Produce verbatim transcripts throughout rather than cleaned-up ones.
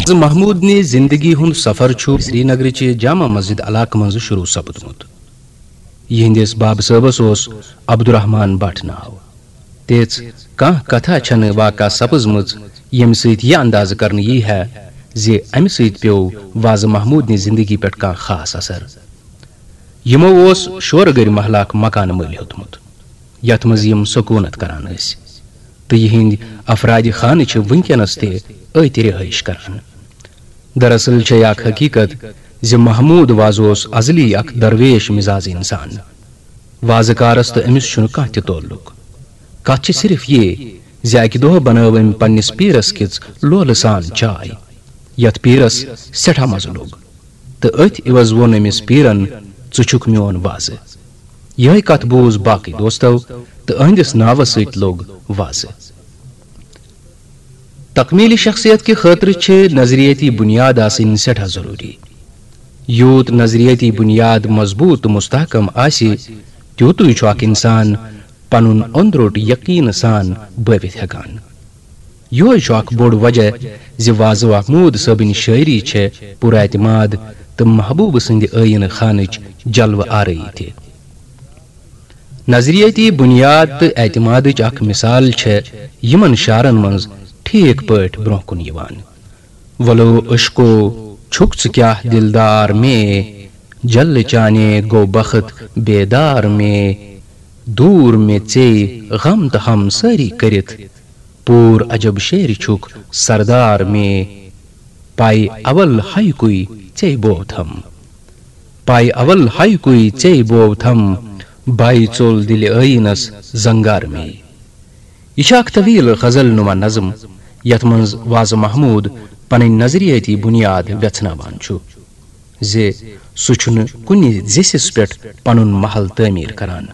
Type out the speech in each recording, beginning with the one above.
محمود نہِ زندگی ہُنٛد سفر چھُ سرینگرٕچہِ جامع مسجد علاقہٕ منٛزٕ شروع سپدمُت۔ یِہنٛدِس بابہٕ صٲبس اوس عبدالرحمان بٹ ناو۔ تِژھ کانٛہہ کتھا چھنہٕ واقع سپٕزمٕژ، ییٚمہِ سۭتۍ یہِ اندازٕ کرنہٕ یی ہے زِ امہِ سۭتۍ پیوٚو وازٕ محمود نہِ زندگی پٮ۪ٹھ کانٛہہ خاص اثر۔ یِمو اوس شورگٔرۍ محلہ اکھ مکانہٕ مٔلۍ ہیوٚتمُت، یتھ منٛز یِم سکوٗنت کران ٲسۍ، تہٕ یِہنٛدۍ افرادِ خانہٕ چھِ وٕنکیٚنس تہِ أتۍ رہٲیش کران۔ دراصل چھے اکھ حقیقت زِ محمود وازٕ اوس ازلی اکھ درویش مزاز انسان۔ وازٕ کارس تہٕ أمِس چھُنہٕ کانٛہہ تہِ تعلق۔ کتھ چھِ صرف یہِ زِ اکہِ دۄہ بنٲو أمۍ پننِس پیٖرس کِژھ لولہٕ سان چاے، یتھ پیٖرس سٮ۪ٹھاہ مزٕ لوٚگ، تہٕ أتھۍ عوض ووٚن أمِس پیٖرن، "ژٕ چھُکھ میون وازٕ۔" یِہے کتھ بوٗز باقٕے دوستو، تہٕ أہنٛدِس ناوس سۭتۍ لوٚگ وازٕ۔ تکمیل شخصیت کہِ خٲطرٕ چھِ نظریٲتی بنیاد آسٕنۍ سٮ۪ٹھاہ ضروٗری۔ یوٗت نظریٲتی بنیاد مضبوٗط تہٕ مستحکم آسہِ، تیوٗتُے چھُ اکھ انسان پنُن اوٚنٛدروٚٹ یقین سان بٲوِتھ ہٮ۪کان۔ یِہوٚے چھُ اکھ بوٚڑ وجہ زِ وازٕ محمود صٲبٕنۍ شٲعری چھےٚ پُراعتماد تہٕ محبوٗبہٕ سٕنٛدِ ٲییٖنہٕ خانٕچ جلوٕ آرٲیی تہِ۔ نظریٲتی بنیاد تہٕ اعتمادٕچ اکھ مثال چھےٚ یِمن شعرن منٛز ٹھیٖک پٲٹھۍ برٛونٛہہ کُن یِوان۔ "ولو عشقو، چھُکھ ژٕ کیٛاہ دلدار مے، جل چانے گوٚو بخت بیدار مے، دوٗر مےٚ ژے غم تہٕ ہم سٲری کٔرِتھ، پوٗر عجب شعرِ چھُکھ سردار مے، پاے اول ہایکُے ژے بوتھم، پاے اول ہایکُے ژے بوتھم، باے ژوٚل دِلہِ ٲیٖنس زنگار مے۔" یہِ چھِ اکھ طویل غزل نما نظم، یتھ منٛز وازٕ محمود پنٕنۍ نظریٲتی بنیاد ویژھناوان چھُ زِ سُہ چھُنہٕ کُنہِ زِسِس پٮ۪ٹھ پنُن محل تعمیٖر کران۔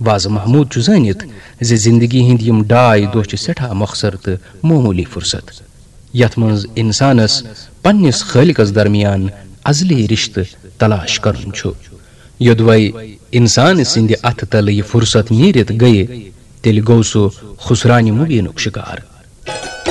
وازٕ محمود چھُ زٲنِتھ زِ زندگی ہٕنٛدۍ یِم ڈاے دۄہ چھِ سٮ۪ٹھاہ مۄخصر تہٕ معموٗلی فرصت، یتھ منٛز انسانس پننِس خٲلقس درمیان ازلی رشتہٕ تلاش کرُن چھُ۔ یوٚدوے انسان سٕنٛدِ اتھٕ تلہٕ یہِ فرصت نیٖرِتھ گٔیہِ، تیٚلہِ گوٚو سُہ خسرانہِ مبیٖنُک شکار۔